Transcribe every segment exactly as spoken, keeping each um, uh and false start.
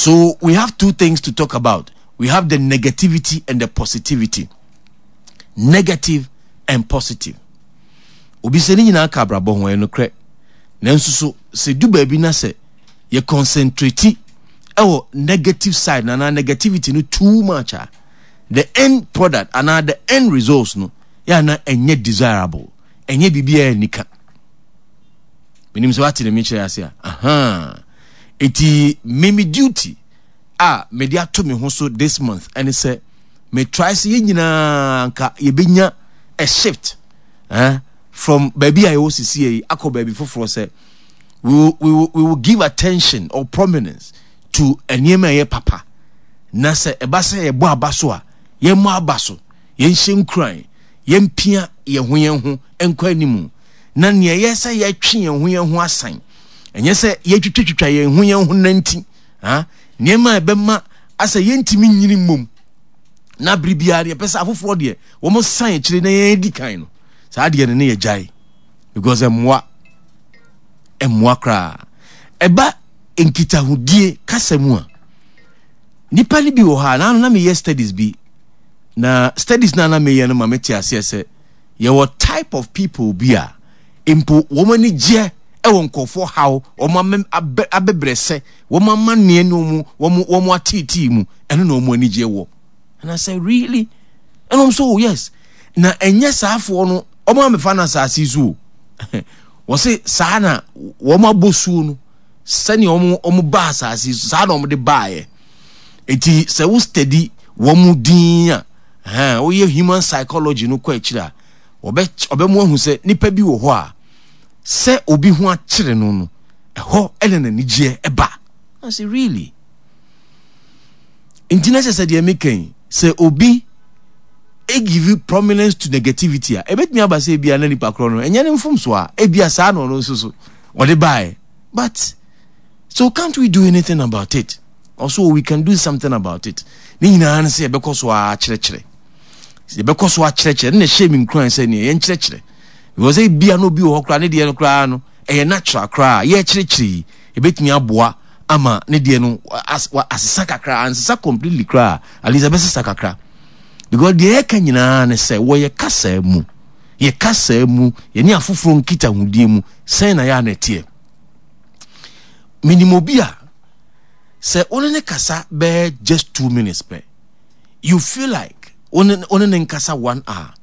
So we have two things to talk about. We have the negativity and the positivity. Negative and positive. Obi sɛ ne nyinaa ka abrabɔ ho ɛyɛ nokorɛ. Nanso so sɛ du baabi na sɛ yɛ concentrate ɛwɔ negative side na anaa negativity no too much a the end product anaa the end results no yɛ ana ɛnyɛ desirable ɛnyɛ biribi a ɛnika. Menim sɛ wate ne mekyerɛ ase a aha eti me me duty a mede ato me ho so this month ɛne sɛ me try sɛ yɛn nyinaa nka yɛbɛnya a shift eh, from baabi a yɛwɔ sisi yi akɔ baabi foforɔ sɛ we will, we will, we will give attention or prominence to nneɛma a ɛyɛ papa na sɛ ɛba sɛ yɛbɔ aba so a yɛmmɔ aba so yɛnhyɛ nkuran yɛmpia yɛn ho yɛn ho nkɔ anim na nea ɛyɛ sɛ yɛtwe yɛn ho yɛn ho asan ɛnyɛ sɛ yɛtwitwatwitwa yɛn ho yɛn ho nanti ha nneɛma a ɛbɛma asɛ yɛntumi nyini mmom na bere biara deɛ ɛpɛ sɛ afoforɔ deɛ wɔn san akyire na yɛn di kan no saa deɛ no ne yɛ gyae because ɛmmoa ɛmmoa koraa ɛba nkitahodie kasa mu a nipa no bi wɔ hɔ a na na meyɛ studies bi na studies na na meyɛ no ma mete aseɛ sɛ yɛwɔ type of people bi a mpo wɔn ani gyeɛ ɛwɔ nkurɔfoɔ haw wɔn abɛbrɛsɛ wɔn amanneɛ ne wɔn wɔn wɔn ateetee mu ɛno na wɔn ani gyeɛ wɔ and I said really ɛna wɔn so oh yes na ɛnyɛ saafoɔ no wɔn amɛfa no asase so o wɔsi saa na wɔn abɔ suo no sɛnea wɔn wɔn ba asase so saa na wɔn de baayɛ eti sɛ wo steady wɔn din a ɛhɛn woyɛ human psychology no kɔ akyire a wɔbɛ ɔbɛmo ahu sɛ nipa bi wɔ hɔ a sɛ obi ho akyere no no ɛhɔ ɛna n'anigyeɛ ɛba I say really nti na kyerɛ sɛ deɛ meka yi sɛ obi give you prominence to negativity a ebetumi aba sɛ ebia na nipa korɔ no ɛnyɛ ne mfomso a ebia saa na ɔno nso so ɔde baeɛ but so can't we do anything about it also we can do something about it ne nyinaa no sɛ yɛbɛkɔ so akyerɛkyerɛ yɛbɛkɔ so akyerɛkyerɛ ne na ɛhyɛ mi nkuran sɛ nea yɛnkyerɛkyerɛ because ebia na obi wɔ hɔ koraa ne deɛ no koraa no ɛyɛ natural koraa yɛkyerɛkyerɛ yi ebetumi aboa ama ne deɛ no asesa kakra ansesa completely koraa at least ɛbɛsesa kakra because deɛ yɛka nyinaa ne sɛ wɔyɛ kasa mu yɛ kasa mu yɛne afoforɔ nkitahodie mu sɛn na yɛ a na ɛteɛ menim obi a sɛ wo ne ne kasa bɛyɛ just two minutes pɛ you feel like wo ne ne nkasa one hour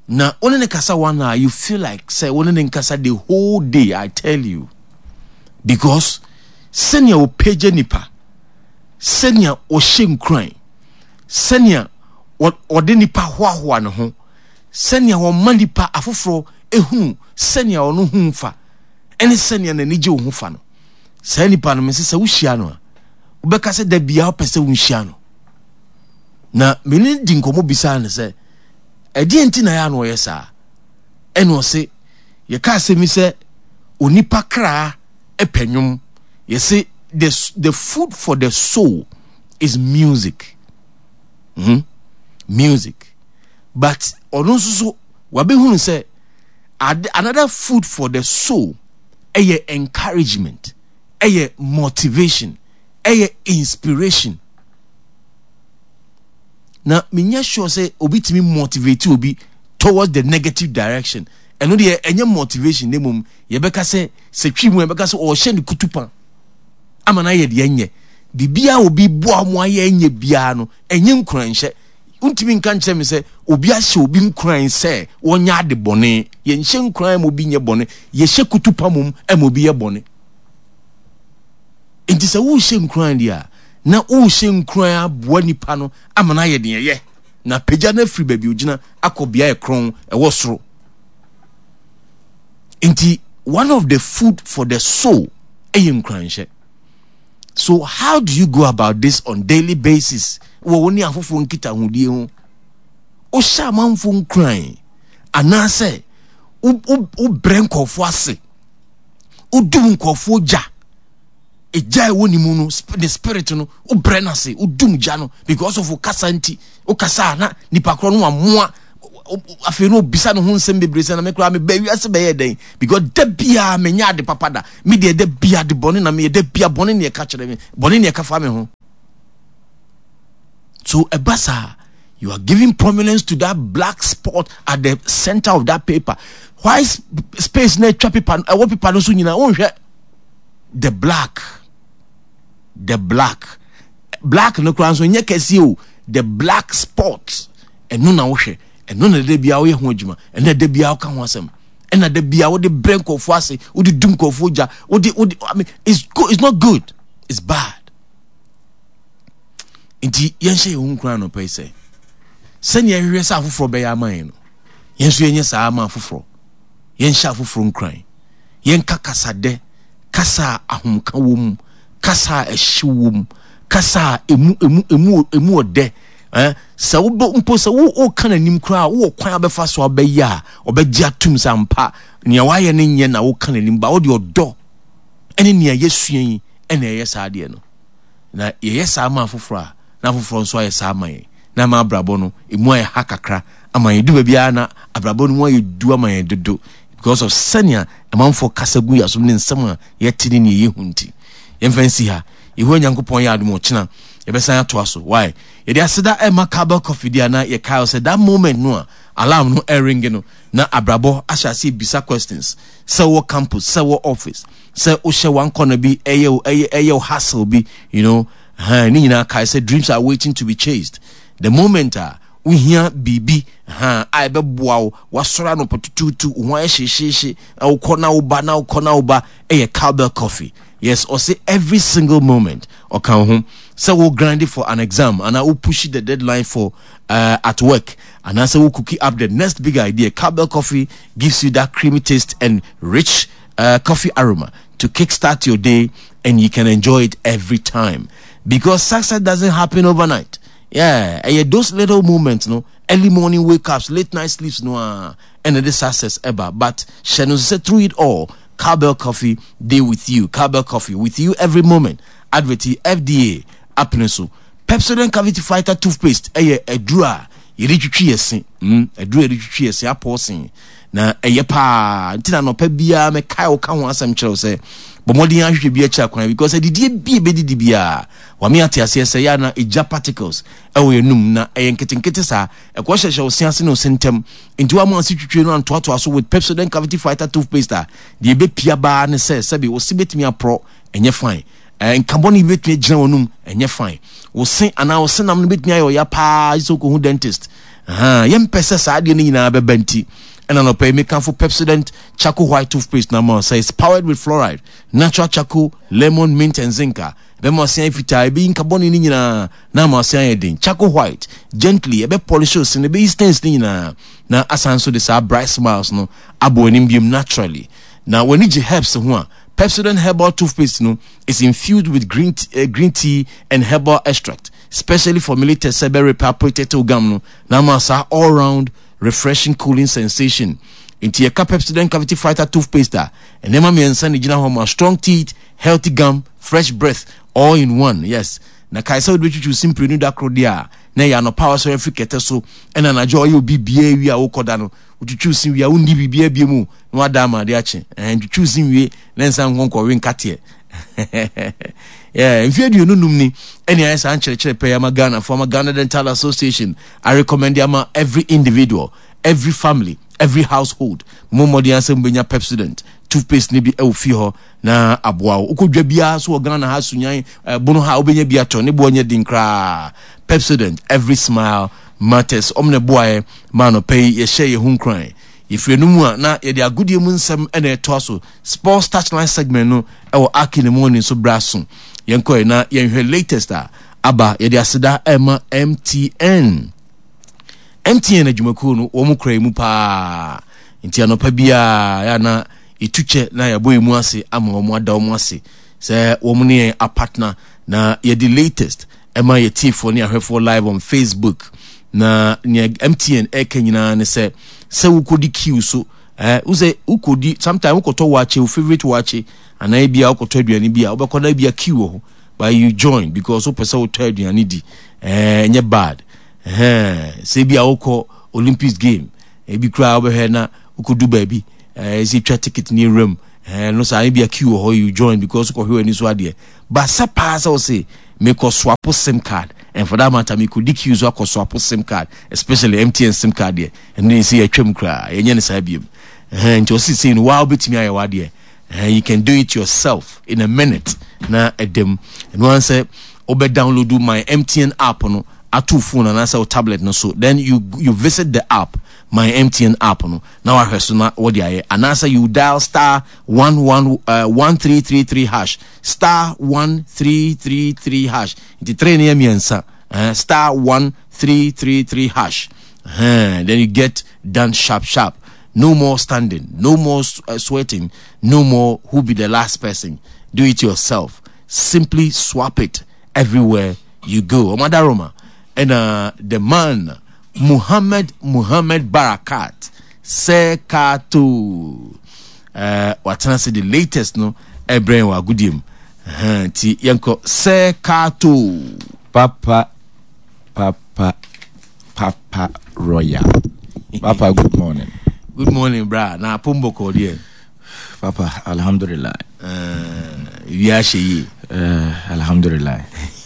na wo ne ne kasa one hour you feel like sɛ wo ne ne nkasa the whole day i tell you because sɛnea ɔpagya nipa sɛnea ɔhyɛ nkuran sɛnea ɔde nipa hoahoa ne ho sɛnea ɔma nipa afoforɔ ehunu sɛnea ɔno ho fa ɛne sɛnea n'ani gye wo ho fa no saa nipa no mese sɛ wohyia no a wobɛka sɛ da biara wopɛ sɛ wonhyia no na mene di nkɔmmɔ bisaa no sɛ ɛdeɛ nti na yɛ a na ɔyɛ saa ɛna ɔse yɛka asɛm yi sɛ onipa kraa ɛpɛ nnwom yɛse the, the food for the soul is music mm? music but ɔno nso so wabɛhunu sɛ another food for the soul ɛyɛ encouragement ɛyɛ motivation ɛyɛ inspiration na menyɛ sure sɛ obi tumi motivate obi towards the negative direction ɛno deɛ ɛnyɛ motivation ne mmom yɛbɛka sɛ sɛ twi mu yɛbɛka sɛ ɔhyɛ ne kutupa ama no ayɛ deɛ ɛnyɛ biribiara obi boa mo ayɛ ɛnyɛ biara no ɛnyɛ nkuranhyɛ wontumi nka nkyerɛ me sɛ obi ahyɛ obi nkuran sɛ wɔnyɛ ade bɔne yɛnhyɛ nkuran ma obi nyɛ bɔne yɛhyɛ kutupa mom ma obi yɛ bɔne nti sɛ wohyɛ nkuran deɛ a na wohyɛ nkuran aboa nipa no ama no ayɛ deɛ ɛyɛ na pagya no afiri baabi ogyina akɔ bea ɛkorɔn ɛwɔ soro nti one of the food for the soul ɛyɛ nkuranhyɛ so how do you go about this on daily basis wɔ wo ne afoforɔ nkitahodie ho wohyɛ amanfoɔ nkuran anaasɛ wobrɛ nkurɔfoɔ ase wodum nkurɔfoɔ gya egya ɛwɔ ne mu no ne spirit no wobrɛ no ase wodum gya no because of kasa nti wokasa a na nipa korɔ no wamoa afei no obisa ne ho nsɛm bebree sɛ na me koraa meba wiase bɛyɛ dɛn because da biara menyɛ ade papa da me deɛ da biara de bɔne na meyɛ da biara bɔne ne ɛka kyerɛ me bɔne ne ɛka fa me ho So ɛba saa, you are giving prominence to that black spot at the center of that paper. White space na atwa paper ɛwɔ paper no so nyinaa wonhwɛ the black the black black no koraa nso nyɛ kɛseɛ o the black spot ɛno na wohwɛ ɛno na da biara woyɛ ho adwuma ɛno na da biara woka ho asɛm ɛna da biara wode brɛ nkurɔfoɔ ase wode dum nkurɔfoɔ gya wode wode I mean it's good it's not good it's bad nti yɛnhyɛ yɛn ho nkuran anɔpa yi sɛ sɛnea yɛhwehwɛ sɛ afoforɔ bɛyɛ ama yɛn no yɛn nso yɛnyɛ saa ama afoforɔ yɛnhyɛ afoforɔ nkuran yɛnka kasadɛ kasa a ahomka wɔ mu kasa a ɛhyew wɔ mu kasa a emu emu emu emu ɔdɛ eh sɛ wobɛ mpo sɛ wo woka n'anim koraa wowɔ kwan a bɛfa so abɛyɛ a ɔbɛgye atum sɛ ampa nea wayɛ no nyɛ na woka n'anim ba wode ɔdɔ ɛne nea yɛsua yi ɛna ɛyɛ saa adeɛ no Na yɛyɛ saa ma afoforɔ a, na afoforɔ nso ayɛ saa ama yɛn. Na ama abrabɔ no, ɛmu ayɛ ha kakra ama yɛn. Ɛdu baabi ara na abrabɔ no mu ayɛ du ama yɛn dodo because of sɛnea amanfoɔ kasa gu yɛn asom ne nsɛm a yɛte ne nea yɛhu nti. Yɛmfa nsi ha. Yehowa Nyankopɔn yɛ adom ɔkyena yɛbɛsan atoa so. Why? Yɛde aseda ɛma Cowbell Coffee di a na yɛkae sɛ that moment no a alarm no ɛringe no na abrabɔ ahyɛ aseɛ bisa questions sɛ wɔ campus sɛ wɔ office sɛ wohyɛ one corner bi ɛyɛ wo ɛyɛ ɛyɛ wo hustle bi you know ha ne nyinaa kae sɛ dreams are waiting to be chased the moment a wohia biribi ha a ɛbɛboa wo wasɔre anɔpa tutuutu wo ho ayɛ hyehyeehye na wokɔ na woba na wokɔ na woba ɛyɛ cowbell coffee yes ɔse every single moment ɔka wo ho sɛ wo grind for an exam anaa wo push the deadline for uh, at work anaasɛ wo cookie up the next big idea cowbell coffee gives you that creamy taste and rich uh, coffee aroma to kickstart your day and you can enjoy it every time because success doesn't happen overnight yeah ɛyɛ those little moments no early morning wake ups late night sleeps no ah and the success ever but hyɛ no sɛ through it all cowbell coffee day with you cowbell coffee with you every moment advert fda apene so pepsodent cavity fighter toothpaste ɛyɛ aduru a yɛde twitwi yɛ se mm aduru a yɛde twitwi yɛ se apɔ sen Na ɛyɛ paa nti na anɔpa biara mekae wo ka ho asɛm kyerɛ wo sɛ bɔ mmɔden ahwehwɛ bi akyiri akwan because adidie bi ebɛdidi biara wame ate aseɛ sɛ yɛ na egya particles ɛwɔ yɛn num na ɛyɛ nketenkete saa ɛkɔ hyɛhyɛ wo se ase ne wo se ntɛm nti wama ase twitwie no antoatoa so with Pepsodent cavity fighter toothpaste a deɛ ɛbɛpia baa ne sɛ sɛbi wo se bɛtumi aporɔ ɛnyɛ fine Eh, nka bɔne bi bɛtumi agyina w'anum, ɛnyɛ fine. Wo se anaa wo senam no bɛtumi ayɛ ɔya paa sɛ wokɔhu dentist. Aha, yɛmpɛ sɛ saa adeɛ no nyinaa bɛba nti. Ɛna nɔpɛ yi mekamfo Pepsodent Charcoal White Toothpaste na ma sɛ it's powered with fluoride, natural charcoal, lemon, mint and zinc a ɛbɛma ɔse ayɛ fitaa, ɛbɛyi nka bɔne no nyinaa na ama ɔse ayɛ den. Charcoal White, gently, ɛbɛ polish wo se no, ɛbɛyi stains no nyinaa na asan so de saa bright smiles no abɔ w'anim biom naturally. Na w'ani gye herbs ho a, Pepsodent Herbal Toothpaste no is infused with green, uh, green tea and herbal extract, specially formulated sɛ bɛ repair potato gum no na ama saa all round refreshing cooling sensation. Nti yɛka Pepsodent Cavity Fighter Toothpaste a, nneɛma mmiɛnsa na egyina hɔ ma strong teeth, healthy gum, fresh breath, all in one. Yes. Na kae sɛ wode bɛtwitwi wo se mprenu da koro deɛ a, na ɛyɛ anɔpa a wasɔre afiri kɛtɛ so ɛna anadwo a ɔyɛ obi biara wie a wokɔda no, wotwitwi wo se wie a wonni biribiara bio mu na wada ama ade akye ɛɛ ntwitwiw si nwie na nsa nkɔ nkɔwe nkateɛ yeah, mfe aduonu num ni ɛne ayɛ saa nkyerɛkyerɛ pɛɛ ama Ghana fo ama Ghana Dental Association I recommend ama every individual every family every household mo mmɔden asɛ mobɛnya Pepsodent toothpaste ne bi ɛwɔ fie hɔ na aboa wo wokɔ dwa biara so wɔ Ghana ha sunyan eh, bono ha wobɛnya bi atɔ ne boɔ nyɛ den koraa Pepsodent every smile matters ɔmo na ɛboaeɛ ma anɔpa yi yɛhyɛ yɛn ho nkuran Yɛfiri ɛno mu a, na yɛde agodie mu nsɛm na ɛtoa so. Sports Touchline segment no ɛwɔ Aki ne Morning so berɛ aso. Yɛnkɔɛ na yɛnhwɛ latest a aba. Yɛde aseda ɛma MTN. MTN adwumakuo no, wɔn kura mu paa. Nti anɔpa biara yɛ na yɛtu kyɛ na yɛabɔ yɛn mu ase ama wɔn ada wɔn ase sɛ wɔn ne yɛn apatena na yɛde latest ɛma yɛ tiefoɔ ne ahwɛfoɔ live on Facebook na nea MTN ɛka nyinaa ne sɛ sɛ wokɔdi queue so eh, wo sɛ wokɔdi sometimes wokɔtɔ wakye wo favorite wakye anaa ebi a wokɔtɔ aduane bi a wobɛkɔ na ebi a queue wɔ hɔ but you join because wopɛ sɛ wotɔ aduane di eh, ɛnyɛ bad eh, sɛ ebi a wokɔ Olympics game ebi koraa wobɛhwɛ na wokɔdu baabi eh, sɛ twa ticket ne awuram eh, no saa ebi a queue wɔ hɔ you join because wokɔhwɛ w'ani so adeɛ ba sɛ paa sɛ wo se mekɔ swapo sim card And for that matter, me kɔdi queue so akɔ swap SIM card, especially M T N SIM card deɛ, ɛno deɛ sɛ yɛtwam koraa, yɛnyɛ ne saa biom. Nti ɔsi sei no, waa wobɛtumi ayɛ wadeɛ. You can do it yourself in a minute na ɛdam. Ɛno ara sɛ wobɛ download My M T N app no ato phone anaasɛ wo tablet no so, then you you visit the app, My M T N app no, na wahwɛ so na wɔde ayɛ, anaasɛ you dial star one one uh, one three three three hash, star one three three three hash. Nti three ne yɛ mmiɛnsa, uh, star one three three three hash. uh, then you get done sharp sharp. No more standing, no more uh, sweating, no more who be the last person. Do it yourself. Simply swap it everywhere you go. Omadaroma and uh, the man Muhammad Muhammad Barakat Sekato uh, watena se the latest no ɛbrɛn wɔ agodie mu. Nti yɛnkɔ Sekato. Papa, papa, papa royal papa, good morning. Good morning, bra. Na apombɔkɔ deɛ? Papa, alhamdulillah. Wi ahyɛ yie. uh, alhamdulillah,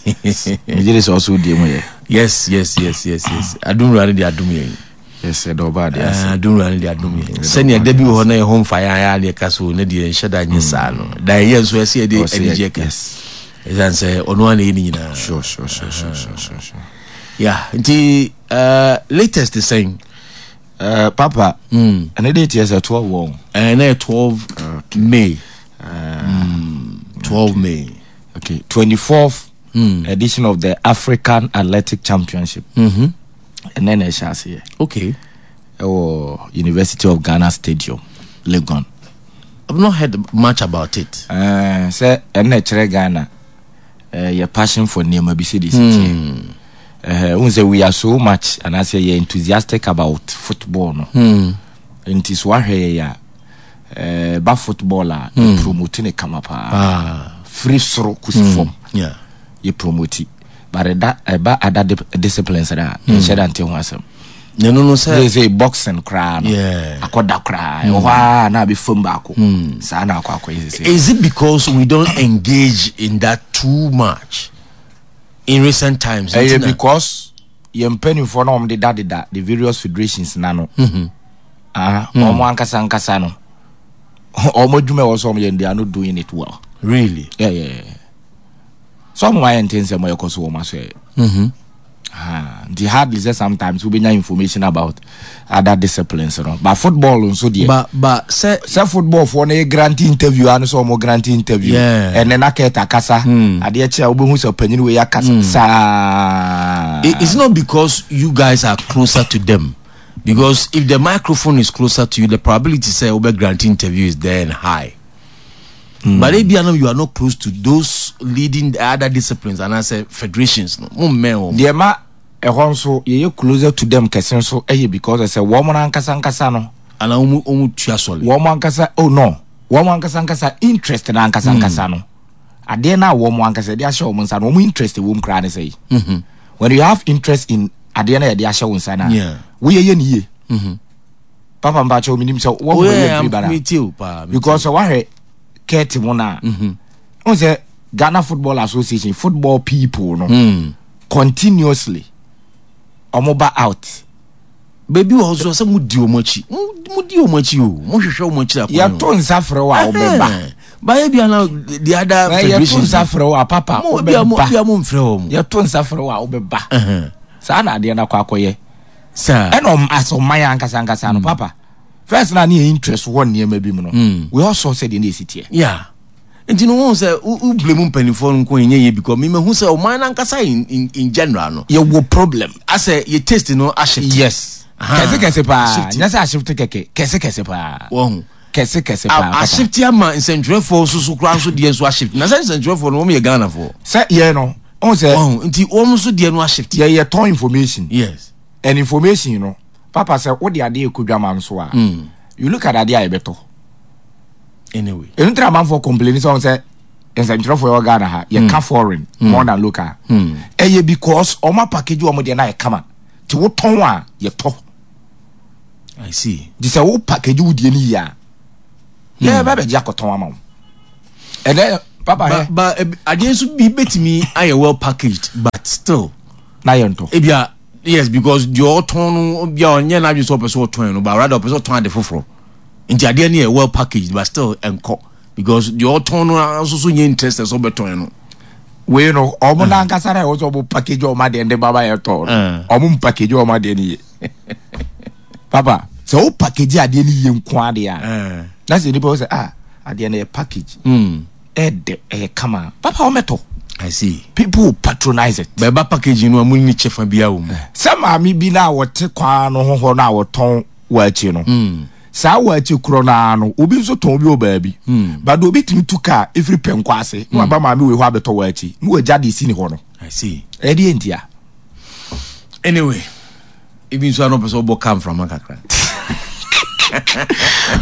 megye de sɛ ɔso die mu yɛ. yes yes yes yes yes adumwura no de adum yɛn. Yes, ɛdɛ ɔba ade ase. Adumwura no de adum yɛn sɛnea da bi wɔ hɔ na yɛ ho mfa yɛn ayɛ adeɛ ka so ne deɛ nhyɛ da nyɛ saa no da yɛyɛ nso ɛsɛ yɛde anigyeɛ ka ɛsiane sɛ ɔno ara na ɛyɛ ne nyinaa. sure sure sure sure sure sure sure Yeah, nti uh, latest sɛn? Uh, papa, mm. ɛne de tiɛ sɛ twelve wɔn. Ɛnɛ yɛ twelve May. uh, mm, twelve May. Okay, twenty-fourth mm. edition of the African Athletic Championship mm-hmm. ɛnɛ na ɛhyɛ aseɛ okay ɛwɔ University of Ghana Stadium, Legon. I've not heard much about it. uh, sɛ ɛnna ɛkyerɛ Ghana uh, yɛ passion for nneɛma bi sɛ de si teɛ. Wohu sɛ we are so much anaasɛ yɛ enthusiastic about football no mm. Nti so wahwɛ yɛ a, ba football a mm. yɛ promote ne kama paa ah. Firi soro kɔsi mm. fam yeah. yɛ promote, but ɛda ɛba other disciplines na yɛnhyɛ da nte ho asɛm. Ɛno no sɛ sɛ sɛ boxing koraa no Yeah. akɔda koraa ɛwɔ hɔ a na abɛ fam baako saa na akɔ akɔyɛ sɛ Is it because we don't engage in that too much in recent times? Ɛyɛ Nti na- because yɛn mpanimfoɔ na wɔn deda deda the various federations na no ah, wɔn ankasa ankasa no, wɔn adwuma ɛwɔ so wɔn yɛ, they are not doing it well. Really? yeah yeah yeah so wɔn ayɛ nte nsɛm a ɛkɔ so wɔn aso yɛ. Mm-hmm. Ah, nti hardly sɛ sometimes wobɛnya information about other disciplines no, but football nso deɛ, But but sɛ sɛ football foɔ no yɛ grant interview ano sɛ ɔmo grant interview. Yeah. Ɛnɛ na kɛta kasa adeɛ kyɛ a, wobɛhu sɛ panyin wei akasa saa. It- it's not because you guys are closer to them. Because if the microphone is closer to you, the probability sɛ wobɛ grant interview is there and high. But if you are not, you are not close to those leading the other disciplines and I say federations, no. Mo mmɛn wɔn. Deɛ ma ɛhɔ nso yɛyɛ closer to them kɛse nso ɛyɛ because sɛ wɔn no ankasa ankasa no Ana wɔn wɔn tua sɔle. Wɔn ankasa, oh no, wɔn ankasa ankasa interest na ankasa ankasa no, adeɛ na wɔn ankasa de ahyɛ wɔn nsa no, wɔn interest wɔ mu koraa ne sɛ yi, when you have interest in adeɛ na yɛde ahyɛ wɔn nsa na Yeah. woyɛ yɛ ne yie. Papa, mpakyɛw, mi nim sɛ wɔn Oh mo yeah, yɛ firi bara me too, pa. Me because sɛ wahwɛ kɛɛte mu na n sɛ Ghana Football Association football people no Mm. continuously ɔmo ba out. Baabi wɔ hɔ so sɛ mo di wɔn akyi. Mo mo di wɔn akyi o. Mo hwehwɛ wɔn akyi akwan. Yɛto nsa frɛ wo a, wobɛba. Bayɛ bi ana the other Na yɛto federations. nsa frɛ wo a, papa, Mo bi a mo wobɛba. bi a mo nfrɛ wɔn. Yɛto nsa frɛ wo a, wobɛba. Ɛhɛn. Saa na adeɛ no akɔ akɔyɛ. Saa. Ɛna ɔm asɛ ɔman ankasa ankasa no, papa, first na ne yɛ interest wɔ nneɛma bi mu no, we all saw sɛ deɛ ne yɛsi teɛ. Yeah. Nti no wɔn sɛ wo wo blame mpanimfoɔ no nko nyɛ yie because mi mehu sɛ ɔman nankasa in in in general no. Yɛwɔ problem. Asɛ yɛ taste no ahyɛ. Yes. Aha. Kɛse kɛse paa. Shift. Nyɛ sɛ ahyefte kɛkɛ, kɛse kɛse paa. Wɔn. Kɛse kɛse paa, papa. Ahyefte ama nsɛntwerɛfoɔ nso so koraa nso deɛ nso ahyefte na sɛ nsɛntwerɛfoɔ no wɔn yɛ Ghanafoɔ. Sɛ yɛ no ɔn sɛ Wɔn nti wɔn nso deɛ no ahyefte. Yɛyɛ tɔn information Yes. and information no, papa, sɛ wode adeɛ ɛkɔ dwama nso a, you look at adeɛ a yɛbɛtɔ. Anyway. Ɛno ntina amanfoɔ complain sɛ ɔn sɛ nsɛntwerɛfoɔ yɛwɔ Ghana ha, yɛka foreign more than local. Ɛyɛ because ɔma package wɔn deɛ no ayɛ kama nti wotɔn a, yɛtɔ. I see. Nti sɛ wo package wo deɛ no yie a, yɛbɛ bɛgye akɔtɔn ama wo. Ɛnɛ papa Ba hɛ ba ebi- adeɛ nso bi betumi ayɛ well packaged but still. Na yɛ ntɔ. Ebia yes, because deɛ ɔtɔn no bia ɔnyɛ n'adwene sɛ ɔpɛ sɛ ɔtɔn no, but rather ɔpɛ sɛ ɔtɔn ade foforɔ, nti adeɛ no yɛ well packaged but still ɛnkɔ because deɛ ɔtɔn no nso so nyɛ interested sɛ ɔbɛtɔn no. Wei no, ɔmo n'ankasa na ɛwɔ sɛ ɔmo package ɔmo adeɛ de baba yɛ tɔ no, ɔmo mpackage ɔmo adeɛ no yie. Papa, sɛ wo package adeɛ no yie nko adeɛ a, na sɛ nipa wɔ sɛ, ah, adeɛ no yɛ package, ɛdɛ, ɛyɛ kama, papa, ɔmɛtɔ. I see. People will patronize it. Bɛɛba packaging no a, mu ni kyɛfa biara wɔ mu. Sɛ maame bi na wɔte kwan no ho hɔ na wɔtɔn waakye no, saa waakye korɔ naa no, obi nso tɔn bi wɔ baabi, but obi tumi tu kaa efiri pɛnkɔ ase na waba maame wei hɔ abɛtɔ waakye na wagya de si ne hɔ no. I see. Ɛdeɛ ntia? Anyway, ebi nso ano pɛ sɛ ɔbɔ kaa mframa kakra.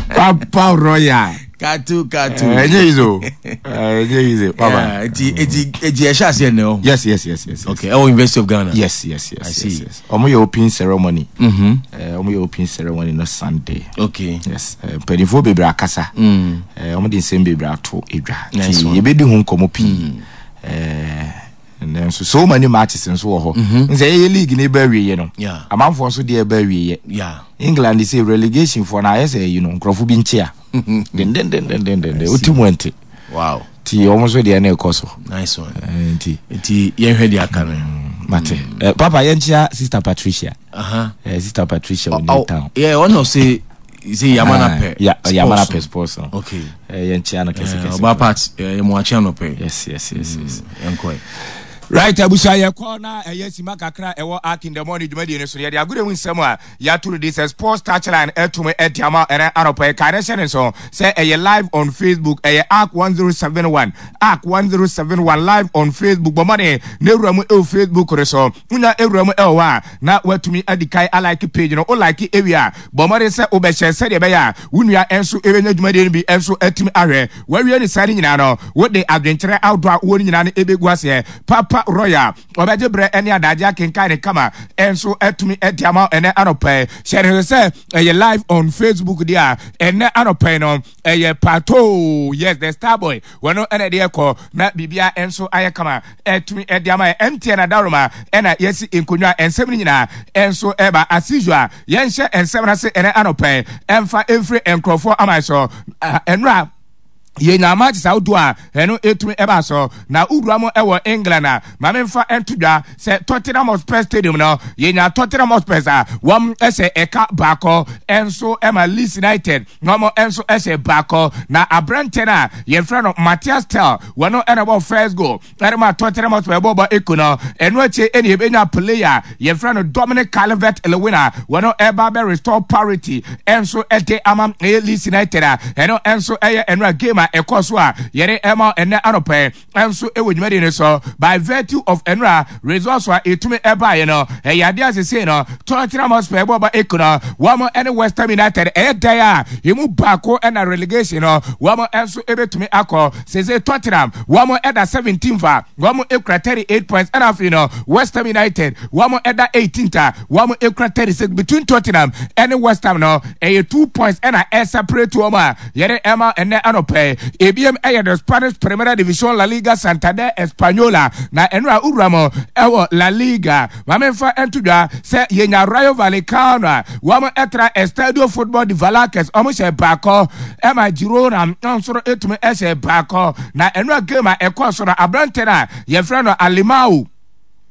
Papa Royal. Katu katu. Ɛnyɛ easy o, ɛnyɛ easy, papa. Eti eti eti ɛhyɛ aseɛ nɛ o? yes yes yes yes. Okay, ɛwɔ University of Ghana. yes yes yes I see. yes yes ɔmo yɛ open ceremony. Mm-hmm. Ɔmo yɛ open ceremony no Sunday. Okay. Yes, mpanimfoɔ bebree akasa. Mm. Ɔmo de nsɛm bebree ato edwa. Nice nti one. Yɛbɛdi ho nkɔmɔ pii. ɛɛ nso so many matches nso wɔ hɔ nsɛ yɛyɛ league ne ba awieɛ no, Yeah. amanfoɔ nso deɛ ɛba awieɛ. Yeah. England sɛ relegation foɔ no ayɛ sɛ ɛyi no, nkurɔfo bi nkyea dendendendendenden, wotu mu ɛnte. Wow. Nti ɔmo nso deɛ ne ɛkɔ so. Nice one. Eh, nti Nti yɛnhwɛ deɛ aka no. Mate. Eh, papa, yɛnkyea Sister Patricia. Uh-huh. eh, sister Patricia wɔ Oh, New Town. yeah, ɔno sɛ sɛ yamana pɛ. Ya, yamana pɛ sports no. Okay. Eh, yɛnkyea no kɛse kɛse. Ɔba part yɛ mu akyea no pɛ. yes yes yes yes Yɛnkɔ. Right, abusua, yɛkɔ na ɛyɛ sima kakra ɛwɔ Ark in the Morning dwumadie no so no, yɛde agorɔ mu nsɛm a yɛato no de sɛ Sports Touchline ɛtom ɛde ama ɛnɛ anɔpa. Ɛka ne hyɛ ne nso sɛ ɛyɛ live on Facebook, ɛyɛ Ark one zero seven one, Ark one zero seven one live on Facebook. Bɔ mmɔden na ewura mu ɛwɔ Facebook no so. Wonya ewura mu ɛwɔ hɔ a, na watumi adi kan alike page no. Wo like ewie a, bɔ mmɔden sɛ wobɛhyɛ sɛdeɛ ɛbɛyɛ a wo nua nso ɛbɛnya dwumadie no bi nso atumi ahwɛ. Wawie ne saa no nyinaa no, wode adwenkyerɛ ahodoɔ a wowɔ no nyinaa no ɛbɛgu aseɛ. Papa Royal ɔbɛgye berɛ ne adagye akenkan ne kama ɛnso atumi adi ama ɛnɛ anɔpɛ. Hyɛ ne sɛ ɛyɛ live on Facebook deɛ a, ɛnɛ anɔpɛ no ɛyɛ Pato, yes, the star boy, wɔno ɛna ɛde ɛkɔ na biribia nso ayɛ kama ɛtumi ɛde ama yɛ. M T N adaroma ɛna yɛsi nkonnwa, nsɛm no nyinaa ɛnso ɛba. As usual, yɛnhyɛ nsɛm no ase ɛnɛ anɔpɛ, ɛmfa ɛmfiri nkurɔfoɔ ama so. Ɛnora yɛnya matches ahodoɔ a ɛno ɛtumi ɛba so na wowura mu ɛwɔ England a, maame mfa ɛnto dwa sɛ Tottenham Hotspur Stadium no, yɛnya Tottenham Hotspurs a wɔn ɛhyɛ ɛka baako ɛnso ɛma Leeds United na wɔn ɛnso ɛhyɛ baako, na aberanteɛ no a yɛfrɛ no Mathys Tel, wɔn ɛna bɔ first goal ɛde ma Tottenham Hotspur ɛbɔ bɔ eko no. Ɛno akyi ɛna yɛbɛnya player yɛfrɛ no Dominic Calvert Lewin a wɔn ɛba bɛ restore parity ɛnso ɛde ama ɛyɛ Leeds United a ɛno ɛnso ɛyɛ ɛno a game a ɛkɔ so a yɛde ɛma ɛnɛ anɔpɛ ɛnso ɛwɔ dwumadi no so. By virtue of ɛnora results a ɛtumi ɛbaeɛ no, ɛyɛ adeɛ asese no Tottenham Hotspur ɛbɔ bɔ eko no, wɔn ɛne West Ham United ɛyɛ dan a emu baako ɛna relegation no wɔn ɛnso ɛbɛtumi akɔ. Sese Tottenham wɔn ɛda seventeenth a wɔn ekura thirty eight points, ɛna afei no West Ham United wɔn ɛda eighteenth a wɔn ekura thirty six. Between Tottenham ɛne West Ham no, ɛyɛ two points ɛna ɛseparate wɔn a yɛde ɛma ɛnɛ anɔpɛ. Ebiem ɛyɛ the Spanish Primera Division, La Liga Santander Española, na ɛno a wura mu ɛwɔ La Liga, maame nfa ɛnto dwa sɛ yɛnya Rayo Vallecano a wɔn ɛtra Estadio Football de Vallecas, wɔn hyɛ baako ɛma Girona nso etumi ɛhyɛ baako. Na ɛno a game a ɛkɔɔ so no, aberante no a yɛfrɛ no Alemao,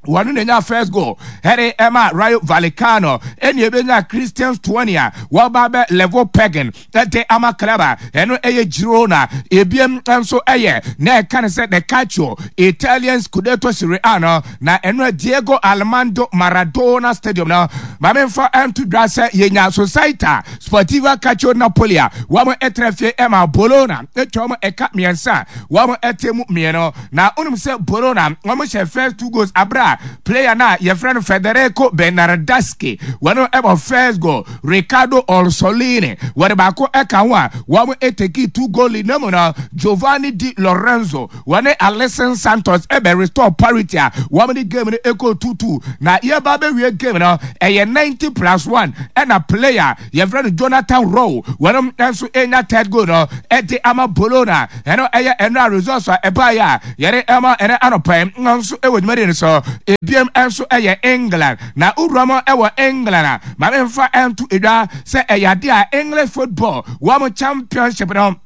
wɔn na nya first goal ɛde ɛma Rayo Vallecano, ɛna ebenya Christian Stuani a wɔba bɛ level pegging ɛde ama club a ɛno ɛyɛ Girona. Ebiem nso ɛyɛ na ɛka ne sɛ the Calcio Italian Scudetto Serie A no, na ɛno Diego Armando Maradona Stadium no, maame nfa ɛnto dwa sɛ yɛnya Società Sportiva Calcio Napoli a wɔn ɛtena fie ɛma Bologna atwa wɔn ɛka mmiɛnsa, wɔn ɛte mu mmienu. Na onim sɛ Bologna wɔn hyɛ first two goals abira player na yɛfrɛ no Federico Bernardeschi, wɔn ɛbɔ first goal, Riccardo Orsolini wɔde baako ɛka ho a wɔn ɛtake two goal lead. Na mu no Giovanni Di Lorenzo wɔne Alison Santos ɛbɛ restore parity a wɔn de game no ɛkɔ two two, na yɛba bɛwie game no ɛyɛ Ɛyɛ ninety plus one ɛna player yɛfrɛ no Jonathan Rowe wɔnom nso enya third goal no ɛde ama Bologna. Ɛno ɛyɛ ɛno a results a ɛbaeɛ a yɛde ɛma ɛnɛ anɔpa nso ɛwɔ dwumadi no so. Ebiem nso ɛyɛ England, na wura mu ɛwɔ England a, maame nfa ɛnto edwa sɛ ɛyɛ ade a English football wɔn Championship no,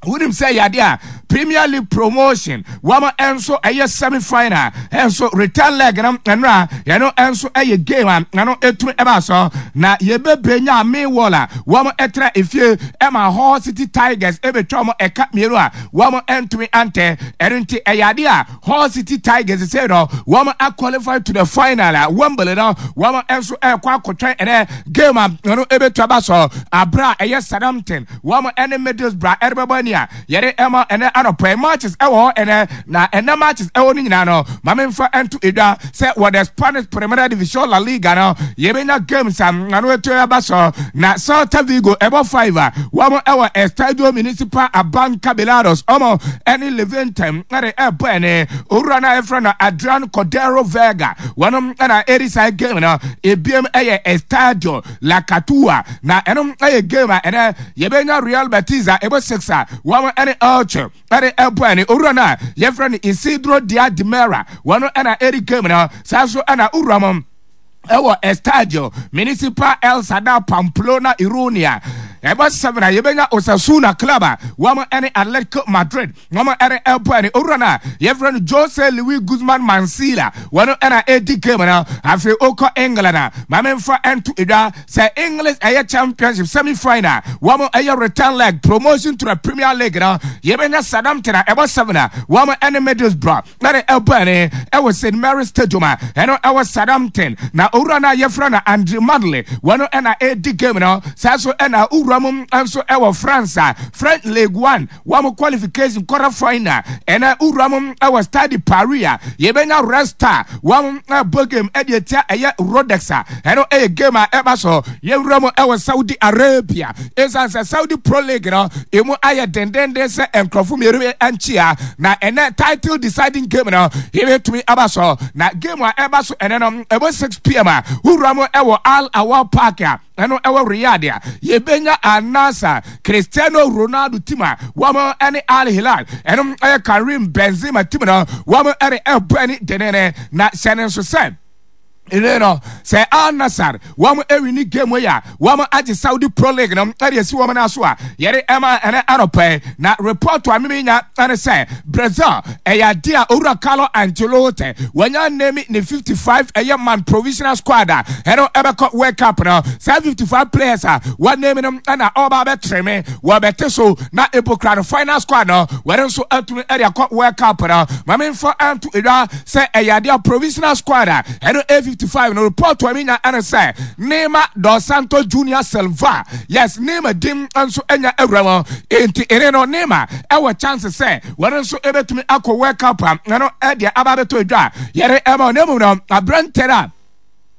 wonim sɛ yɛade a Premier League promotion wɔn nso ɛyɛ semi final ɛnso return leg no, ɛno a yɛno nso ɛyɛ game a ɛno etumi ɛba so na yɛbɛbɛ nya Millwall a wɔn ɛtena efie ɛma Hull City Tigers ɛbɛtwa wɔn ɛka mmienu a wɔn ɛntumi antɛ. Ɛno nti ɛyɛ ade a Hull City Tigers sɛ no wɔn aqualify to the final a Wembley no wɔn nso ɛkɔ akɔtwɛn ɛnɛ game a ɛno ɛbɛtwa ba so abira a ɛyɛ Southampton wɔn ɛne Middlesbrough ɛrebɛbɔ ani a yɛde ɛma ɛnɛ anɔpɛ. Matches ɛwɔ hɔ ɛnɛ, na ɛnɛ matches ɛwɔ no nyinaa no, maame nfa ɛnto edwa sɛ wɔ the Spanish Primera Division, La Liga no, yɛbɛnya games a ano eto ɛba so na Celta Vigo ɛbɔ five a wɔn ɛwɔ Estadio Municipal Abanca Balaídos, ɔmo ɛne Levante ɛde ɛbɔ. Ɛne owura no a yɛfrɛ no Adrian Cordero Vega wɔn ɛna ɛdi saa game no. Ebiem ɛyɛ Estadio La Cartuja, na ɛno ɛyɛ game a ɛnɛ yɛbɛnya Real Betis a ɛbɔ six a wɔn ɛne Elche ɛde ɛbɔ. Ɛne owura no a yɛfrɛ no Isidro Diaz de Mera wɔn ɛna ɛdi game no. Saa nso ɛna owura mo ɛwɔ Estadio Municipal El Sadar Pamplona Iruña ɛbɔ seven a yɛbɛnya Osasuna club a wɔn ɛne Atletico Madrid wɔn ɛne ɛbɔ. Ɛne owura no a yɛfrɛ no Jose Luis Guzman Mansilla wɔn ɛna ɛdi game no. Afei okɔ England a, maame nfa ɛnto edwa sɛ English ɛyɛ Championship semi final wɔn ɛyɛ return leg promotion to the Premier League no, yɛbɛnya Southampton a ɛbɔ seven a wɔn ɛne Middlesbrough ɛne ɛbɔ. Ɛne ɛwɔ Saint Mary Stadium a ɛno ɛwɔ Southampton, na owura no a yɛfrɛ no Andre Madley wɔn ɛna ɛdi game no. Saa so ɛna owura mu nso ɛwɔ France a French League One wɔn qualification quarter final, ɛna owura mu ɛwɔ Stade Paris a yɛbɛnya Red Star wɔn ɛbɔ game ɛde etia ɛyɛ Rodez a ɛno ɛyɛ game a ɛba so. Yɛwura mu ɛwɔ Saudi Arabia, ɛsiane sɛ Saudi Pro League no emu ayɛ dendenden sɛ nkurɔfo mmienu nkyia, na ɛnɛ title deciding game no yɛbɛtumi aba so, na game a ɛba so ɛnɛ no ɛbɔ six p m a wura mu ɛwɔ Al Awal Park a ɛno ɛwɔ Riyadh a yɛbɛnya Al-Nassr, Cristiano Ronaldo team a wɔn ɛne Al Hilal, ɛno ɛyɛ Karim Benzema team no, wɔn ɛne ɛbɔ ɛne denene. Na hyɛ ne nso sɛ ɛne no sɛ Al Nassr wɔn ɛwin game yi a, wɔn agye Saudi Pro League no ɛde esi wɔn nan so a yɛde ɛma ɛnɛ anɔpɛ. Na report a mimi nya ɛne sɛ Brazil ɛyɛ ade a owura Carlo Ancelotti wɔnya name ne fifty five ɛyɛ man provisional squad a ɛno ɛbɛkɔ World Cup no. Saa fifty five players a wɔn name no ɛna ɔba abɛtɛrɛmɛ wɔbɛte so na ebokura no final squad no wɔn nso atumi ɛde akɔ World Cup no. Maame nfa ɛnto edwa sɛ ɛyɛ ade a provisional squad a ɛno A fifty five no, report a mi nya ɛne sɛ Neymar dos Santos Junior Silva, yes, Neymar dim nso anya awura mu, nti ɛne no Neymar ɛwɔ chance sɛ wɔn nso ɛbɛtumi akɔ World Cup a ɛno ɛdeɛ aba abɛtɔ edwa a yɛde ɛma ɔne mu no. Aberante a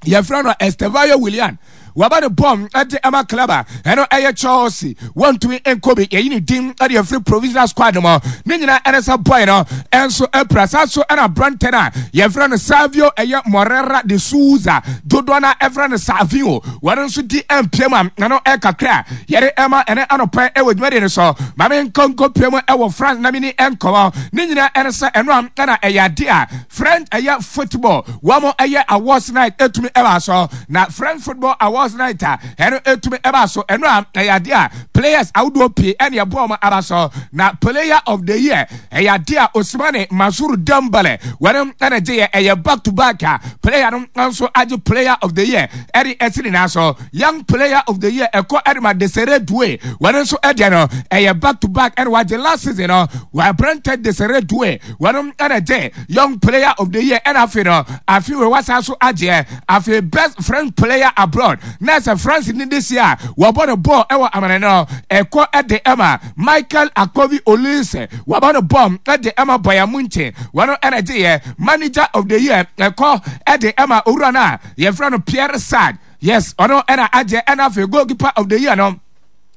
yɛfrɛ no Estevao Willian waba ne bɔm ɛde ɛma club a ɛno ɛyɛ Chelsea, wɔntumi nkɔ bi, yɛyi ne din ɛde ɛfiri provisional squad no mu. Ne nyinaa ɛne sɛ boy no ɛnso ɛpira. Saa so ɛna aberante no a yɛfrɛ no Savio ɛyɛ Morera de Souza, dodoɔ no ɛfrɛ no Savio, wɔn nso di mpie mu a ɛno ɛkakra a yɛde ɛma ɛne anɔpɛ ɛwɔ dwumadi no so. Maame nkɔnkɔ pie mu ɛwɔ France na mini ɛnkɔmɔ. Ne nyinaa ɛne sɛ ɛno a ɛna ɛyɛ ade a French ɛyɛ football wɔn ɛyɛ awards night ɛtumi ɛba so, na French football awards night a ɛno ɛtumi ɛba so, ɛno a ɛyɛ ade a players ahodoɔ pii ɛne ɛbɔ wɔn aba so, na player of the year ɛyɛ ade a Ousmane Mansour Dembele wɔn ɛna gye yɛ, ɛyɛ back to back a player no nso agye player of the year ɛde ɛsi ne nan so. Young player of the year ɛkɔ ɛde ma Desire Doue, wɔn nso ɛdeɛ no ɛyɛ back to back ɛna wagye. Last season no wɔabrante Desire Doue, wɔn ɛna gye young player of the year, ɛna afei no afei wɔ wasa so agyeɛ. Afei best French player abroad na sɛ France ni de si a wɔbɔ no bɔɔl ɛwɔ amane no ɛkɔ ɛde ɛma Michael Akovi Olise, wɔbɔ no bɔɔl ɛde ɛma Bayern Munich, wɔn ɛna gye yɛ. Manager of the year ɛkɔ ɛde ɛma owura no a yɛfrɛ no Pierre Sage, yes, ɔno ɛna agye. Ɛna afei goalkeeper of the year no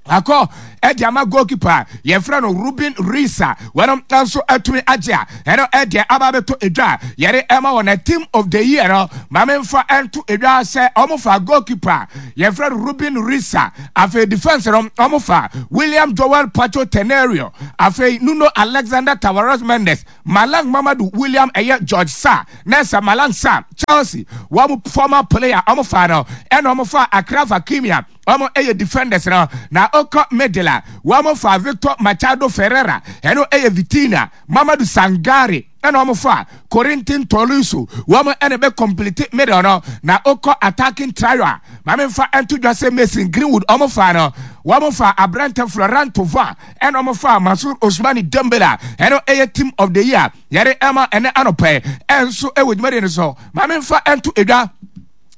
akɔ Ɛde ama goalkeeper yɛfrɛ no Ruben Risa, wɔn nso atumi agye a ɛno ɛdeɛ aba abɛtɔ edwa. Yɛde ɛma wɔn na team of the year no, maame nfa ɛnto edwa sɛ wɔn fa goalkeeper yɛfrɛ no Ruben Risa. Afei defence no, wɔn fa William Joel Pacho Tenerio, afei Nuno Alexander Tavares Mendes, Malang Mamadu William, ɛyɛ George Sa nɛsɛ Malang Sa, Chelsea wɔn former player, wɔn fa no, ɛna wɔn fa Achraf Hakimi a wɔn yɛ defenders no. Na ɔkɔ middle a, wɔn fa Victor Machado Ferreira, ɛno ɛyɛ Vitinha, Mamadu Sangare, ɛna wɔn fa Corentin Tolisso, wɔn ɛna bɛ complete middle no. Na ɔkɔ attacking trio a, maame nfa ɛnto dwa sɛ Mason Greenwood wɔn fa no, wɔn fa aberante Florent Thauvin, ɛna wɔn fa Mansour Ousmane Dembele. Ɛno ɛyɛ team of the year yɛde ɛma ɛnɛ anɔpɛ ɛnso ɛwɔ dwumadie no so. Maame nfa ɛnto edwa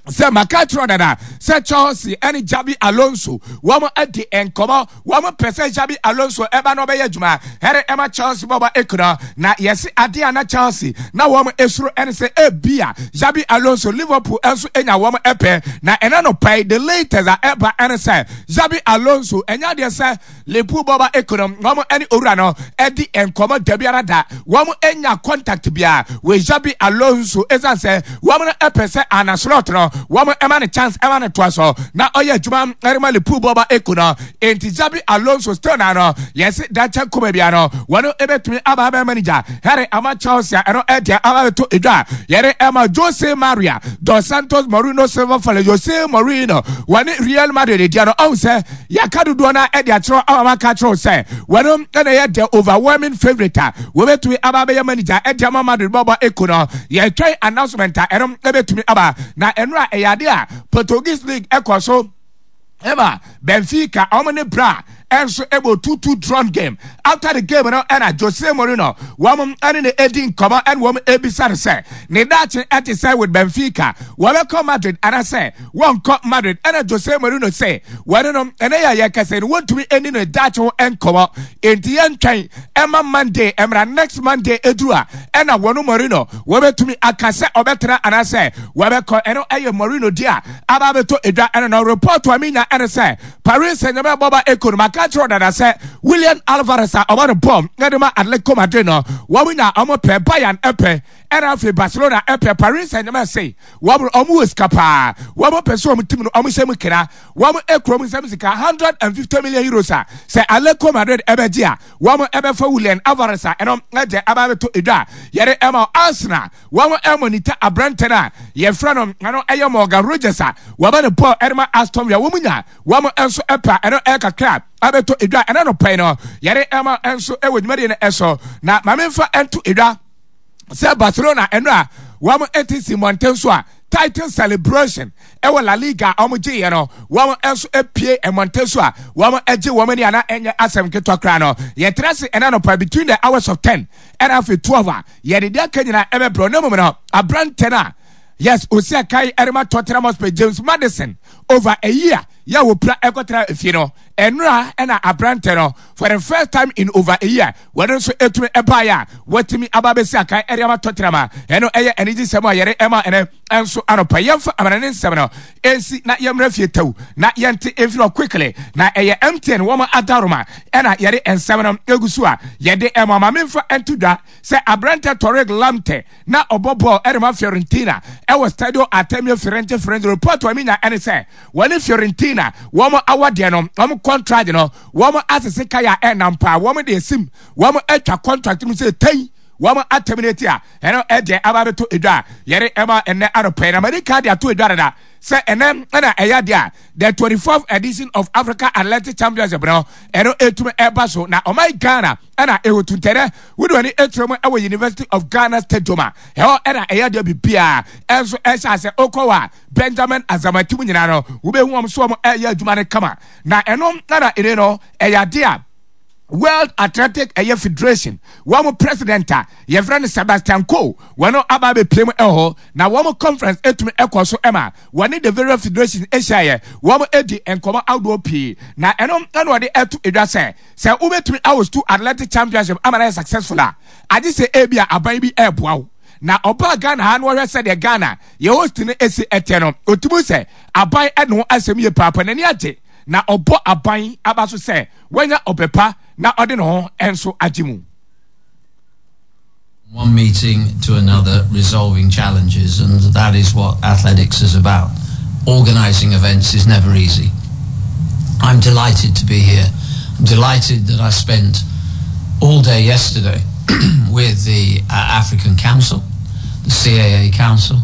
sɛ maka kyerɛ dada sɛ Chelsea ɛne Xabi Alonso wɔn adi nkɔmɔ. Wɔn pɛ sɛ Xabi Alonso ɛba na ɔbɛyɛ adwuma ɛre ɛma Chelsea bɔbɔ ekura. Na yɛsi adeɛ a na Chelsea na wɔn esuro ɛne sɛ ebia Xabi Alonso, Liverpool ɛnso enya wɔn ɛpɛ. Na ɛna no pɛɛ, the latest a ɛba ɛne sɛ Xabi Alonso ɛnya adeɛ sɛ Liverpool bɔbɔ ekura wɔn ɛne owura no ɛdi nkɔmɔ dabiara da. Wɔn enya contact bia wɔ Xabi Alonso, ɛsan sɛ wɔn no ɛpɛ sɛ Arne Slot no wɔn ɛma ne chance, ɛma ne toa so na ɔyɛ adwuma ɛrema Liverpool bɔba ekuna. Enti Xabi Alonso still na no yɛsi dakyɛ nkɔmɔ bia no wɔn ɛbɛtumi aba abɛn manager ɛre ama Chelsea. Ɛno ɛdeɛ aba bɛto edwa. Yɛre ɛma Jose Maria dos Santos Mourinho Silva Fale. Jose Mourinho wɔne Real Madrid deɛ no, ɔn sɛ yɛaka dodoɔ no ɛde akyerɛw ama maka kyerɛw sɛ wɔn ɛna yɛ the overwhelming favourite a wɔbɛtumi aba abɛyɛ manager ɛde ama Madrid bɔbɔ ekuna. Yɛtwɛn announcement a ɛno ɛbɛtumi aba. Na ɛno a ɛyɛ ade a Portuguese league ɛkɔ so ɛma Benfica ɔmo ne bra ɛnso ɛbɔ two two drawn game. After the game no, ɛna Jose Mourinho wɔn ɛne ne edi nkɔmɔ, ɛna wɔn ebisa no sɛ ne daakye ɛte sɛ with Benfica, wɔbɛkɔ Madrid anasɛ wɔnkɔ Madrid. Ɛna Jose Mourinho sɛ wɔne no ɛnɛ yɛ yɛ kɛse no, wɔntumi ɛni ne daakye ho nkɔmɔ, enti yɛntwɛn ɛma Monday ɛmra. Next Monday eduru a, ɛna wɔn Mourinho wɔbɛtumi aka sɛ ɔbɛtena anaasɛ wɔbɛkɔ. Ɛno ɛyɛ Mourinho di a aba abɛtɔ edwa. Ɛna no report a mi nya ɛne sɛ Paris Saint-Germain bɔba eko no, maka kyerɛ dada sɛ William Alvarez a ɔbɔ no bɔm ɛde ma Atletico Madrid no, wɔn nya wɔn pɛ, Bayern ɛpɛ, ɛna afei Barcelona ɛpɛ. Paris Saint-Germain se wɔn wɔn wɔ sika paa, wɔn pɛ sɛ wɔn team no wɔn hyɛ mu kena. Wɔn ekuro mu nsɛm sika hundred and fifty million euros a sɛ Atletico Madrid ɛbɛgye a, wɔn ɛbɛfa William Alvarez a ɛno ɛgye aba abɛtɔ edwa. Yɛde ɛma Arsenal, wɔn ɛmonitor aberante no a yɛfrɛ no, ɛno ɛyɛ Morgan Rogers a wɔbɛ ne bɔɔl ɛde ma Aston Villa. Wɔn nya wɔn nso ɛpɛ, ɛno ɛyɛ kakra abɛtɔ edwa. Ɛna no pɛn no yɛde ɛma nso ɛwɔ dwumadie no ɛso. Na maame nfa ɛnto edwa sɛ Barcelona ɛno a wɔn ɛte si mmɔnten so a title celebration ɛwɔ La Liga a wɔn gye yɛ no, wɔn nso apue mmɔnten so a wɔn agye wɔn ani ana ɛnyɛ asɛm ketewa koraa no. Yɛtena se ɛna no pa between the hours of ten ɛna afei twelve a yɛde deɛ aka nyinaa ɛbɛbrɛ. Ne mu no, aberante no a yes osi akan ɛrema Tottenham Hotspur, James Maddison, over a year yɛ wɔ pira ɛkɔtena efie no, ɛnura ɛna aberante no for the first time in over a year wɔde nso etumi ɛbaeɛ a wɔtumi aba abɛsi akan ɛde ama Tottenham a ɛno ɛyɛ anigye sɛm a yɛde ɛma ɛnɛ ɛnso anɔpa. Yɛmfa amana ne nsɛm no ɛnsi na yɛmmerɛ fie taw na yɛnte ɛmfiri hɔ quickly. Na ɛyɛ M T N wɔn adaroma ɛna yɛde nsɛm no egu so a yɛde ɛma. Maame mfa ɛnto dwa sɛ aberante Tariq Lamptey na ɔbɔ bɔɔl ɛde ma Fiorentina ɛwɔ Stadio Artemio Firenze Firenze Report a minya ɛne sɛ wɔne Fiorentina wɔn awadeɛ no, wɔn contract no, wɔn asese kaya ɛnam paa. Wɔn de esim wɔn atwa contract mu sɛ tɛn wɔn aterminate a ɛno ɛdeɛ aba abɛto edwa a yɛde ɛma ɛnɛ anɔpɛ. Na mɛde kaa de ato edwa dada sɛ ɛnɛ ɛna ɛyɛ adeɛ a the twenty fourth edition of Africa Athletic Championship no ɛno etumi ɛba so. Na ɔman Ghana ɛna ehotu ntɛnɛ wode wani ekyerɛ mu ɛwɔ University of Ghana Stadium a ɛhɔ ɛna ɛyɛ adeɛ bibia ɛnso ɛhyɛ asɛ okɔ wɔ a Benjamin Azamati mu nyinaa no, wobɛhu wɔn so wɔn ɛyɛ adwuma no kama. Na ɛno ɛna ɛne no ɛyɛ adeɛ a World Athletic ɛyɛ Federation wɔn president a yɛfrɛ no Sebastian Coe wɔn aba abɛpie mu ɛwɔ hɔ. Na wɔn conference etumi ɛkɔ so ɛma wɔne the various federations ahyia yɛ wɔn edi nkɔmɔ ahodoɔ pii. Na ɛno ɛna wɔde ɛto edwa sɛ sɛ wobɛtumi ahost athletic championship ama na yɛ successful a, agye sɛ ebi a aban bi ɛɛboa wo. Na ɔbaa Ghana ha no, wɔhwɛ sɛdeɛ Ghana yɛ host no esi ɛtɛ no, otumi sɛ aban ɛne ho asɛm yie paapa, n'ani agye. Na ɔbɔ aban aba so sɛ wanya ɔpɛ pa na ɔde ne ho nso agye mu. One meeting to another, resolving challenges, and that is what athletics is about. Organising events is never easy. I'm delighted to be here. I'm delighted that I spent all day yesterday with the uh, African Council, the C A A Council,